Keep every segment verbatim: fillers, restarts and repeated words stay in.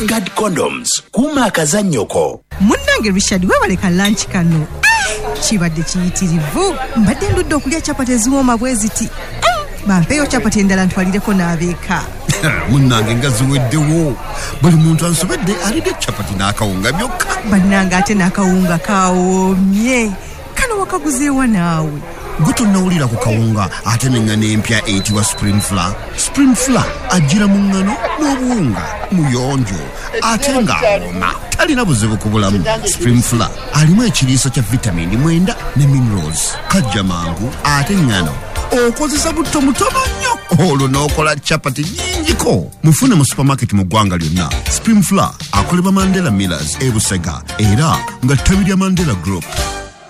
Guard Condoms, kuuma akazannyoko. Munnange Richard, weebale ka lunch kano. Kibadde kiyitirivu. Mbadde ndudde okulya chapati eziwooma bwe ziti. Bampeeyo chapati endala ntwalireko n'abeeka. Munnange nga ziweddewo. Buli muntu ansobedde alidde chapati n'akawunga byokka. Bannange ate n'akawunga kawoomye. Kano wakaguzeewa naawe? Gwe tonnawulira ku kawunga ate n'eŋŋano empya eyitibwa Spring Flour. Spring Flour ajjira mu ŋŋano n'obuwunga, muyonjo ate ng'awooma, talina buzibu ku bulamu. Spring Flour alimu ekiriisa kya vitamini mwenda ne minerals, kajja mangu ate ŋŋano okozesa butto mutono nnyo olwo n'okola chapati nnyingiko. Mufune mu supermarket mu ggwanga lyonna. Spring Flour akolebwa Mandela Millers e Busega era nga ttabi lya Mandela Group.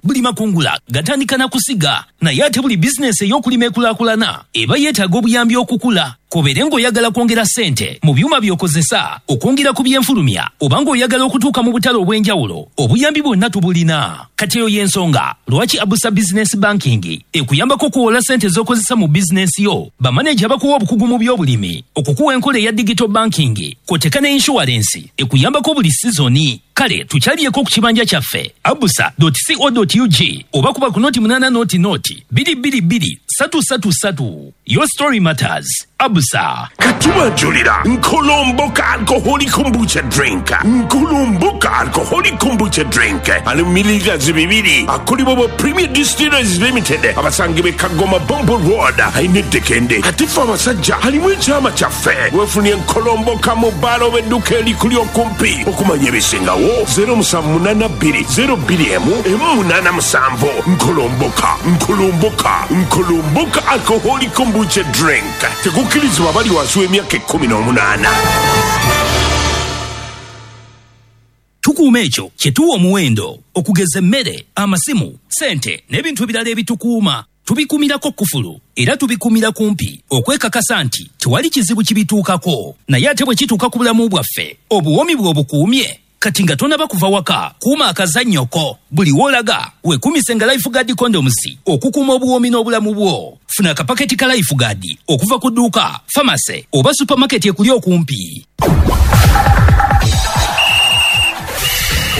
Buli makungula gatandika na kusiga, naye ate buli bizinesi ey'okulima ekulaakulana eba yeetaaga obuyambi okukula. K'obeere ng'oyagala kwongera ssente mu byuma by'okozesa, okwongera ku byenfulumya, oba ng'oyagala okutuuka mu butale obw'enjawulo, obuyambi bwonna tubulina. Kati eyo y'ensonga lwaki Abusa Business Banking ekuyambako okuwola ssente z'okozesa mu bizinesi yo. Bamaneja bakuwa obukugu mu by'obulimi, okukuwa enkola eya digital banking, kw'oteeka ne insurance ekuyambako buli sizoni. Kale tukyalyeko ku kibanja kyaffe abusa dot co dot ug oba kuba ku noti munaana noti noti bbiri bbiri bbiri ssatu ssatu ssatu. Your story matters. Abusa. Katubanjulira Nkolomboka Alcoholic Kombucha Drink. Nkolomboka Alcoholic Kombucha Drink ali mu mililitazi bibiri, akolebwa bwa Premier Distillers Limited, abasangibwa e Kagoma, Bombo Road, alina eddekende. Ate ffe abasajja alimu ekyama kyaffe. Weefunye Nkolomboka mu bbaala oba edduka erikuli okumpi. Okumanya ebisingawo, zero musanvu munaana bbiri zero bbiri emu emu munaana musanvu. Nkolomboka, Nkolomboka, Nkolomboka Alcoholic Kombucha Drink. Tekukkirizibwa bali wansi w'emyaka ekkumi n'omunaana. Tukuuma ekyo kye tuwa omuwendo, okugeza emmere, amasimu, ssente n'ebintu ebirala ebitukuuma. Tubikuumirako kufulu era tubikuumira kumpi okwekakasa nti tewali kizibu kibituukako. Naye ate bwe kituuka ku bulamu bwaffe, obuwoomi bwe obukuumye? Kati nga tonaba kuva waka, kuuma akazannyoko. Buli w'olaga weekuumise nga Life Guard Condoms okukuuma obuwoomi n'obulamu bwo. Funa akapaketi ka Life Guard okuva ku dduuka, famase oba supermarket ekuli okumpi.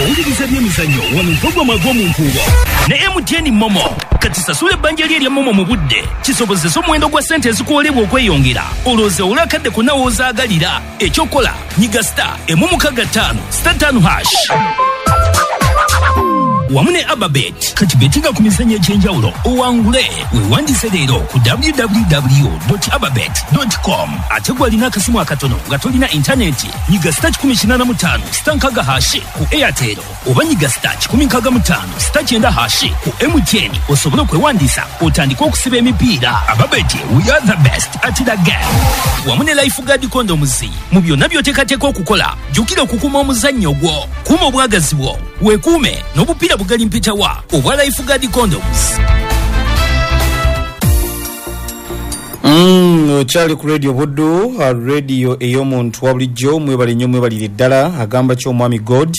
Owuliriza Byemizannyo wano mpogwa ag'omu nkuubo ne M T N MoMo. Kati sasula ebbanja lye erya MoMo mu budde kisobozesa omuwendo gwa ssente ezikuwolebwa okweyongera, olowooza owule akadde konna w'ozaagalira. Ekyokola, nyiga star emu mukaga ttaano star ttaano hash wamu ne Ababet. Kati betinga ku mizannyo egy'enjawulo owangule. Weewandise leero ku W W W ababet com. Ate gwe alina akasimu akatono nga tolina intaneti, nyiga star kikumi kinaana mu ttaano star nkaaga hash ku Airtel oba nyiga star kikumi nkaaga mu ttaano star kyenda hash ku M T N osobole okwewandiisa otandike okusiba emipiira. Ababet, we are the best at the game. Wamu ne Life Guard Condoms, mu byonna by'oteekateeka okukola, jjukira okukuuma omuzannyo gwo, kuuma obwagazi bwo, weekuume n'obupiira bugali mpitawa obwa Life Guard Condoms. Mm, okyali ku Radio Buddu, uh, radio ey'omuntu wa bulijjo. Mwebale nnyo, mwebalire ddala. Agamba ki omwami God?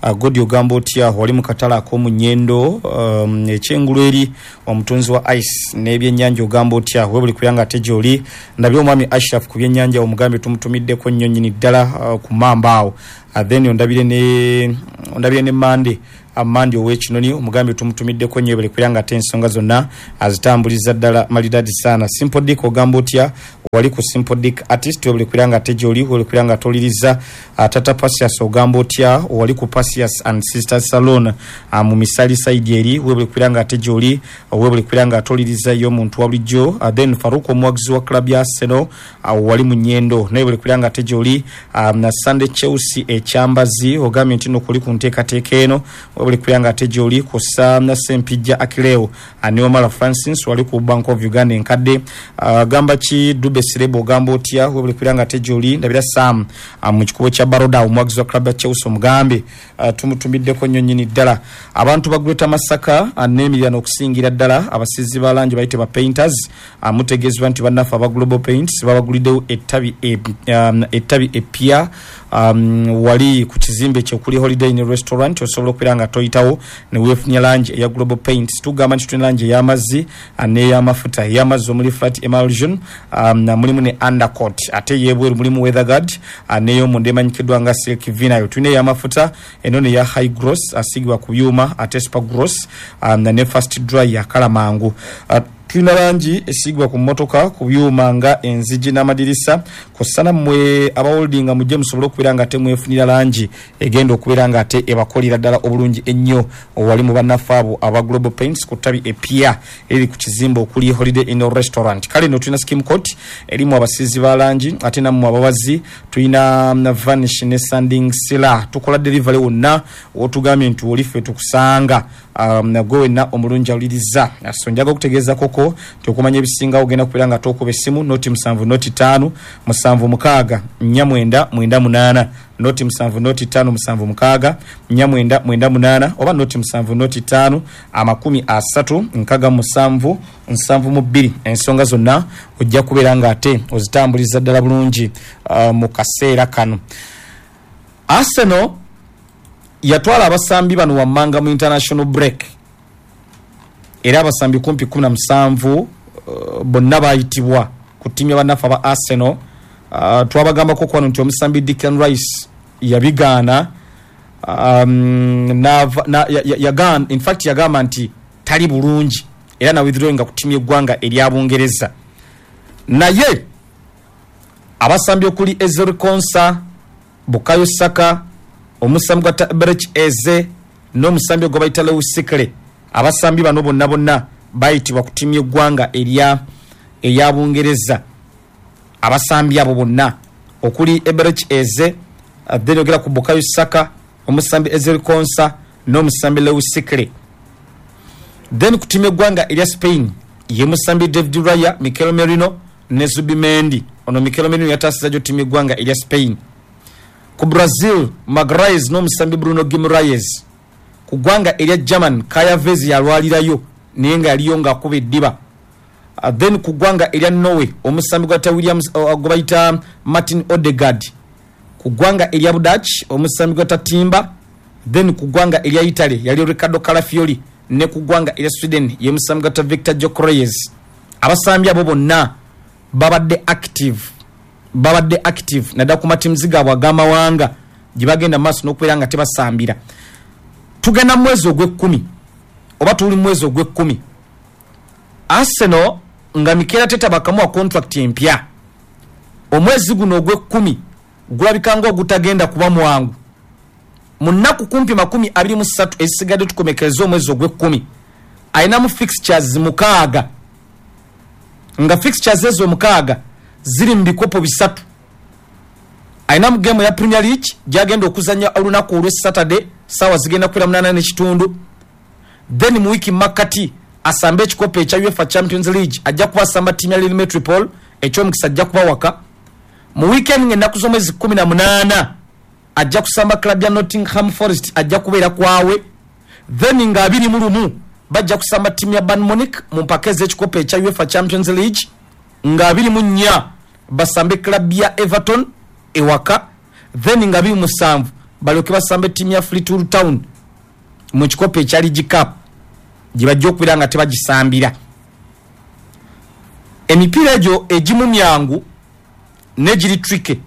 uh, God ogamba otya? Wali mu katale ak'omu Nyendo, um, ekyengulu eri omutunzi wa ice n'ebyennyanja, ogamba otya? Webuli kuyanga ate gy'oli. Ndabye omwami Ashraf ku byennyanja, omugambe tumutumiddeko nnyo nnyini ddala uh, ku mamba awo. uh, then ondabire ne ondabire ne Mande Amandi ow'Ekinoni, omugambe tumutumiddeko nnyo, ebale kuyanga ate ensonga zonna azitambuliza ddala malidadi sana. Simple Dick, ogamba otya? Wali ku Simple Dick Artist, webale kuyanga ate gy'oli, webale kuyanga atoliriza. uh, tata Pasias, ogamba otya? Wali ku Pasias and Sisters Salon uh, mu Misali side eri, webale kuyanga ate gy'oli, webale kuyanga atoliriza y'omuntu wa bulijjo. uh, then Faruk, omuwagizi wa club ya Arsenal, uh, wali mu Nyendo, naye webale kuyanga ate gy'oli. um, na Sunday Chelsea ekyambazi, ogambye nti no kuli ku nteekateeka eno, webale kuyanga ate gy'oli. Kusa na Sempijja Akileo ne Omala Francis, wali ku Bank of Uganda enkadde. uh, gamba ki Dube Sirebo, ogamba otya? Webale kuyanga ate gy'oli. Ndabira Sam uh, mu kikubo kya Baroda, omuwagizi wa club ya Chelsea, omugambe uh, tumutumiddeko nnyo nnyini ddala. Abantu ba Greater Masaka uh, n'emiriraano, okusingira ddala abasizi ba langi bayite ba painters, uh, mutegeezebwa nti bannaffe aba Global Paints babaguliddewo ettabi e, um, ettabi epya um, wali ku kizimbe kyokuli Holiday Inn Restaurant, osobola okubeera nga toyitawo ne weefunya langi eya Global Paints. Tugamba nti tulina langi ey'amazzi n'ey'amafuta. Ey'amazzi omuli flat emulsion, um, mulimu ne undercoat, ate ey'ebweru mulimu weatherguard, n'ey'omunda emanyikiddwa nga silk vinyl. Tulina ey'amafuta eno neya high gloss asigibwa ku byuma, ate super gloss, um, ne fast dry yakala mangu. Uh, tulina langi esigibwa ku mmotoka, ku byuma nga enzigi n'amadirisa. Kosana mmwe abaholdinga mujje musobole okubeera nga temwefunira langi egenda okubeera nga ate ebakolera ddala obulungi ennyo. Wali mu bannaffe abo aba Global Paints ku ttabi epya eriri ku kizimbe okuli Holiday Inn Restaurant. Kale nno tulina skim coat erimu abasiizi ba langi, ate nammwe abawazi tulina vanish ne sanding sealer. Tukola delivery wonna wotugambye nti oli ffe tukusanga. Um, gwe wenna omulungi awuliriza, so njaga okutegeeza koko nti okumanya ebisingawo ogenda kubeera nga tokuba essimu noti musanvu noti ttaano musanvu mukaaga nnya mwenda mwenda munaana, noti musanvu noti ttaano musanvu mukaaga nnya mwenda mwenda munaana, oba noti musanvu noti ttaano amakumi asatu nkaga musanvu nsanvu mu bbiri. Ensonga zonna ojja kubeera nga ate ozitambuliza ddala bulungi uh, mu kaseera kano. Arsenal yatwala abasambi bano wammanga mu international break, era abasambi kumpi kumi na musanvu uh, bonna bayitibwa ku ttiimu y'abannaffe aba Arsenal. Uh, twabagambako kwano nti omusambi Declan Rice yabigaana, um, nava, na, ya, ya, yagaana, in fact yagamba nti tali bulungi era na withdrawinga ku ttiimu y'eggwanga erya Bungereza. Naye abasambi okuli Ezri Konsa, Bukayo Saka, omusambi gwa Eberechi Eze n'omusambi gwe bayita Lewis Sikle, abasambi bano bonna bonna bayitibwa ku ttiimu y'eggwanga erya eya Bungereza. Abasambi abo bonna okuli Eberechi Eze, then ogera ku Bukayo Saka, omusambi Ezri Konsa n'omusambi Lewis Sikle. Then ku ttiimu y'eggwanga erya Spain ye musambi David Raya, Mikel Merino ne Zubimendi. Ono Mikel Merino yataasiza gyo ttiimu y'eggwanga erya Spain. Ku Brazil, Magalhaes n'omusambi Bruno Guimaraes. Ku ggwanga erya German, Kai Havertz yalwalirayo naye nga yaliyo ng'akuba eddiba. Uh, then ku ggwanga erya Norway, omusambi gwa Williams uh, gwe bayita Martin Odegaard. Ku ggwanga erya Budach, omusambi gwa Timber. Then ku ggwanga erya Italy yali Riccardo Calafiori, ne ku ggwanga erya Sweden ye musambi gwa Victor Gyökeres. Abasambi abo bonna babadde active, babadde active naddala ku matiimu gaabwe ag'amawanga gye bagenda mu maaso n'okubeera nga tebasambira. Tugenda mu mwezi ogw'ekkumi oba tuli mu mwezi ogw'ekkumi, Arsenal nga Mikel Arteta bakamuwa contract empya. Omwezi guno ogw'ekkumi gulabika ng'ogutagenda kuba mwangu. Mu nnaku kumpi makumi abiri mu ssatu ezisigadde tukomekereza omwezi ogw'ekkumi, alinamu fixtures mukaaga, nga fixtures ezo mukaaga ziri mu bikopo bisatu. Alinamu game ya Premier League gyagenda okuzannya olunaku olw'e Saturday saawa zigenda kubeera munaana n'ekitundu. Then mu wiiki makkati asambe ekikopo ekya UEFA Champions League, ajja kuba asamba ttiimu ya Lille Metropole, ekyomukisa ajja kuba waka. Mu weekend ng'ennaku z'omwezi kumi na munaana ajja kusamba club ya Nottingham Forest, ajja kubeera kwawe. Then nga abiri mu lumu bajja kusamba ttiimu ya Bayern Munich mu mpaka ez'ekikopo ekya UEFA Champions League, nga abiri mu nnya basambe club ya Everton ewaka. Then nga abiri musanvu balyoke basambe ttiimu ya Fleetwood Town mu kikopo ekya League Cup gye bajja okubeera nga tebagisambira. Emipiira egyo egimu myangu n'egiri tricky.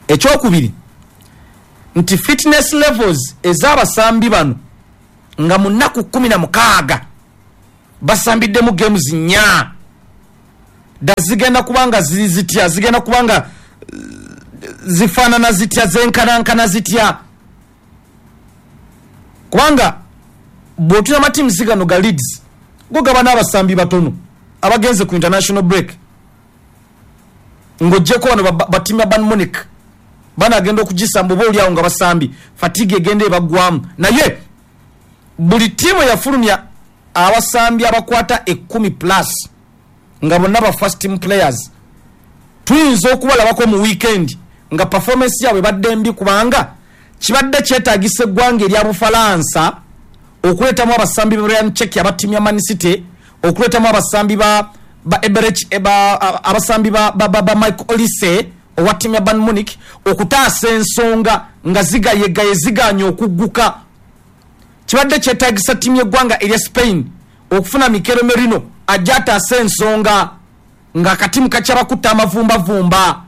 Ekyokubiri nti fitness levels ez'abasambi bano nga mu nnaku kumi na mukaaga basambiddemu games nnya, dda zigenda kubanga ziri zitya, zigenda kubanga zifaanana zitya, zenkanankana zitya, kubanga bw'otuna amatiimu gano ga Leeds go gaba n'abasambi batono abagenze ku international break, ng'oggyeko bano ba ttiimu ya Bayern Munich banagenda okugisamba oba oliawo nga basambi fatigue egenda ebaggwamu. Naye buli ttiimu yafulumya abasambi abakwata ekkumi plus nga bonna ba first team players, tuyinza okubalabako mu weekend nga performance yaabwe ebadde mbi, kubanga kibadde kyetaagisa eggwanga erya Bufalansa okuleetamu abasambi ba Ryan Cherki aba ttiimu ya Man City, okuleetamu abasambi ba ba Eberechi ba abasambi ba ba, ba, ba Michael Olise owa ttiimu ya Bayern Munich okutaasa ensonga nga zigayegaye ziganye okugguka. Kibadde kyetaagisa ttiimu y'eggwanga erya Spain okufuna Mikel Merino ajja ataasa ensonga nga akatimu kakyabakutta amavumbavumba.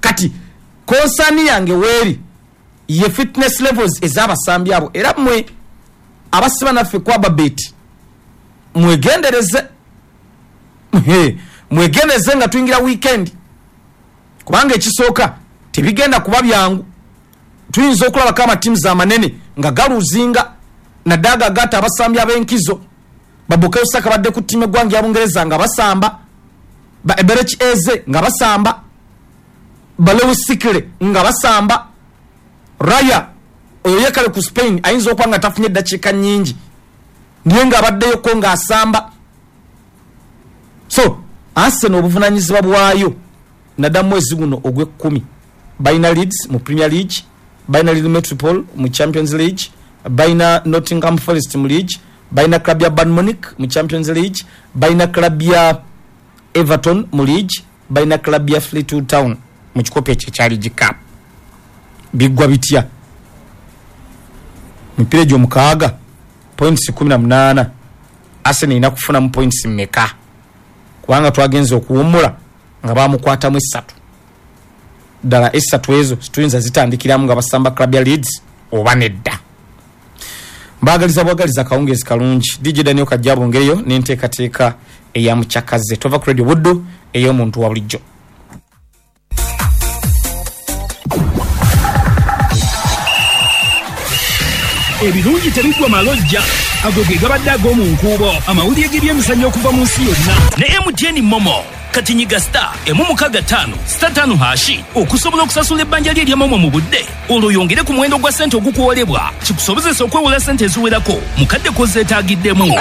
Kati concern yange weeri ye fitness levels ez'abasambi abo, era mmwe abasiba naffe ku Ababet mwegendereze, mwegendereze nga tuyingira weekend, kubanga ekisooka tebigenda kuba byangu. Tuyinza okulabako amatiimu amanene nga galuzinga naddala gagatta abasambi ab'enkizo. Ba Bukayo Saka badde ku ttiimu y'eggwanga ya Bungereza nga basamba, ba Eberechi Eze nga basamba, ba Lewis Sikle nga basamba. Raya oyo yekale ku Spain ayinza okuba nga tafunye eddakiika nnyingi naye ng'abaddeyoko ng'asamba. So Arsenal obuvunaanyizibwa bwayo naddala mwezi guno ogw'ekkumi, balina Leeds mu Premier League, balina Lille Metropole mu Champions League, balina Nottingham Forest mu League, balina club ya Bayern Munich mu Champions League, balina club ya Everton mu League, balina club ya Fleetwood Town mu kikopo ekyo ekya League Cup. Biggwa bitya? Mipiira egyo mukaaga points kumi na munaana, Arsenal erina kufunamu points mmeka? Kubanga twagenze okuwummula nga bamukwatamu essatu. Ddala essatu ezo tuyinza zitandikiramu nga basamba club ya Leeds oba nedda. Mbaagaliza bwagaliza akawungeezi kalungi. D J Daniel Kajja bongereyo n'enteekateeka eya Mukyakaze. Tova ku Radio Buddu ey'omuntu wa bulijjo. Ebirungi tebiggwa malojja, ago ge gabadde ag'omu nkuubo, amawulire g'ebyemizannyo okuva mu nsi yonna ne M T N Momo. Kati nyiga star emu mukaaga ttaano star ttaano hashi okusobola okusasula ebbanja lye erya Momo mu budde, olwo oyongere ku muwendo gwa ssente ogukuwolebwa kikusobozesa okwewola ssente eziwerako mu kadde k'ozeetaagiddemu.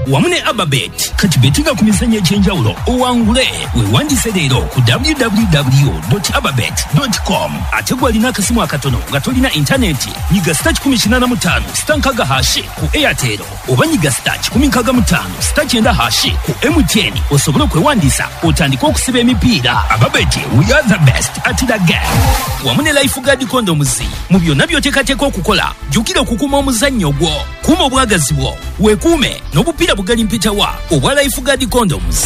Wamu ne Ababet, kati betinga ku mizannyo egy'enjawulo owangule. Weewandise leero ku w w w dot ababet dot com. Ate gwe alina akasimu akatono nga tolina intaneti, nyiga star kikumi kinaana mu ttaano star nkaaga hashi ku Airtel oba nyiga star kikumi nkaaga mu ttaano star kyenda hashi ku M T N osobole okwewandisa otandike okusiba emipiira. Ababet, we are the best at the game. Wamu ne Lifeguard Condoms, mu byonna by'oteekateeka okukola, jjukira okukuuma omuzannyo gwo, kuuma obwagazi bwo, weekuume n'obupiira bugali mpitawa obwa Lifeguard Condoms.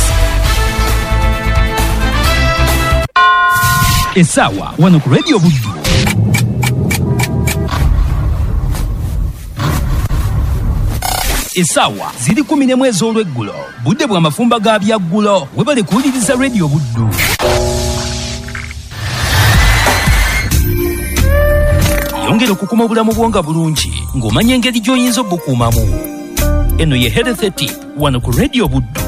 Essaawa wano ku Radio Buddu. Essaawa ziri kumi n'emu ez'olweggulo, budde bwa mafumba ga byaggulo. Webale kuwuliriza Radio Buddu. Yongera okukuuma obulamu bwo nga bulungi ng'omanya engeri gy'oyinza obukuumamu. Eno ye Health Tip wano ku Radio Buddu.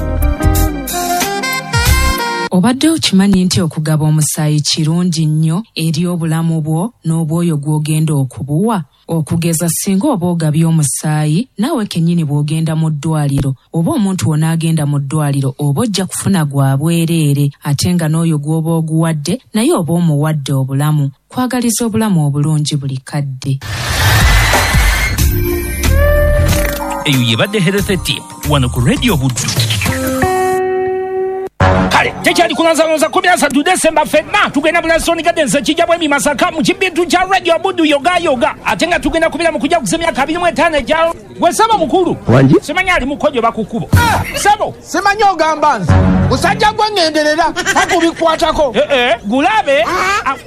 Obadde okimanyi nti okugaba omusaayi kirungi nnyo eri obulamu bwo n'obwoyo gw'ogenda okubuwa? Okugeza singa oba ogabye omusaayi, naawe kennyini bw'ogenda mu ddwaliro oba omuntu w'onaagenda mu ddwaliro oba ojja kufuna gwa bwereere, ate nga n'oyo gw'oba oguwadde naye oba omuwadde obulamu. Kwagaliza obulamu obulungi buli kadde. Eyo yebadde Health Tip wano ku Radio Buddu. Kale tekyali kulanzalonza kumi na ssatu Desemba ffenna tugenda mu Lansoni Gardens ekijja bwemi Masaka mu kibintu kya Radio Buddu yoga yoga, ate nga tugenda kubeera mu kujja kuza emyaka abiri mu etaano egya gwe ssebo mukulu. Wangi? Simanyi ali mukojo bakukubo. Ssebo simanyi ogamba nze musajja gwe ŋŋenderera takubikwatako. Eh eh gulabe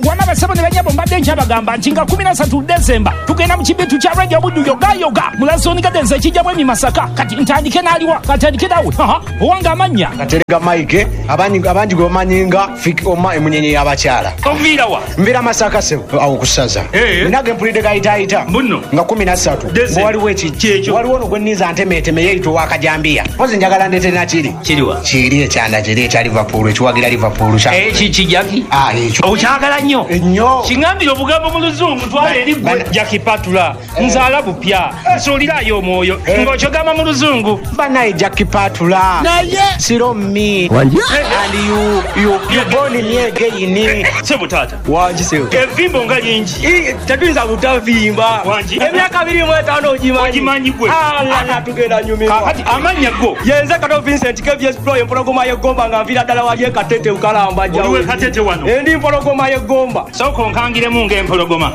wama basebo ne banyabo mbadde nkyabagamba nti nga kumi na ssatu Desemba tugenda mu kibintu kya Radio Buddu yoga yoga mu Lansoni Gardens ekijja bwemi Masaka. Kati ntandike n'aliwa katandike nawe owange amannya Katerega Mike abangi abangi gwe bamanyi nga Fik Oma emunyenye y'abakyala. Onviira wa? Nviira Masaka ssebo awo ku ssaza. Nage mpulidde gayitaayita nga kumi na ssatu waliwo eki waliwo ono gwe nninza ntemeeteme yeeyita ow'akajambiya. Mpozi njagala ndeete nakiri. Kiriwa? Kiri ekyanda kiri ekya Liverpool ekiwagira Liverpool. Eki kijaki? Ah ekyo. Okyagala Onjagala nnyo. Ennyo. Kiŋambire obugambo mu luzungu twala eri gwe. Jackie Patula, nzaala bupya, nsuulirayo omwoyo, ng'okyogamba mu luzungu. Banaye Jackie Patula. Naye Siro me. Wangi? And you, you, you born me again. Sebo taata. Wangi sebo. Evimbo nga lingi. Ii, tetuyinza butavimba. Wangi? Emyaka abiri mu etaano ogimanyi. Ogimanyi gwe. Alala tugenda nyumirwa. Kaakati amannya go. Yenze Kato Vincent K V S Pro empologoma y'eggomba nga nviira ddala wali e Katete Bukalamba jjawo. Oli w'e Katete wano? Endi mpologoma y'eggomba. Sooka onkangiremu ng'empologoma.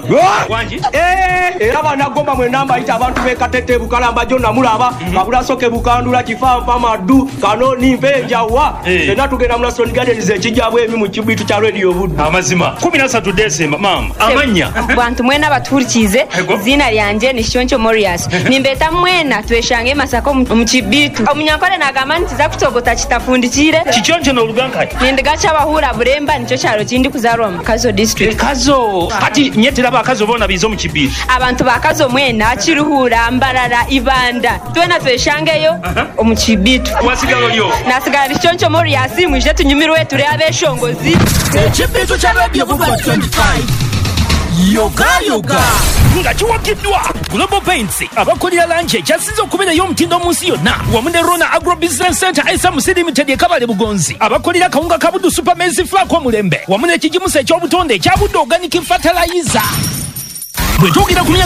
Wangi? Eh, era bannagomba mwenna mbayita abantu b'e Katete Bukalamba gyo namulaba. Kabulasoke Bukandula, Kifanfa, Maddu, Kanoni, Mpenjawa. Ffenna tugenda mu National Gardens ekijjabwemi mu kibitu kya Radio Buddu. Amazima. Kumi na ssatu Desemba, maama. Amannya. Bantu mwena batuhurikize, izina lyanje ni Shoncho Morias. Nimbeta mwena tweshange Masaka omu kibitu. Omunyankore nagamba nti za kutogota kitafundikire. Kichoncho n'oluganka. Nindigacha abahura Buremba nikyo kyaro kindi kuzarwa mu Kazo district. Kazo. Kati nyetera abakazo bona bizo mu kibitu. Abantu bakazo mwena Kiruhura, Mbarara, Ibanda. Twena tweshangeyo omu kibitu. Wasigalo lyo. Nasigala Shoncho Morias mwije tunyumirwe turi abeshongozi. Ekibitu kya Radio Buddu twenty-five. Yoga yoga. Nga kiwagiddwa Global Paints abakolera langi ekyasinze okubeerayo omutindo mu nsi yonna wamu ne Rona Agro Business Center S M C Limited e Kabale Bugonzi abakolera kawunga ka Buddu Super Maize Flour k'omulembe wamu n'ekigimusa eky'obutonde ekya Buddu Organic Fertilizer. Bwe twogera ku myaka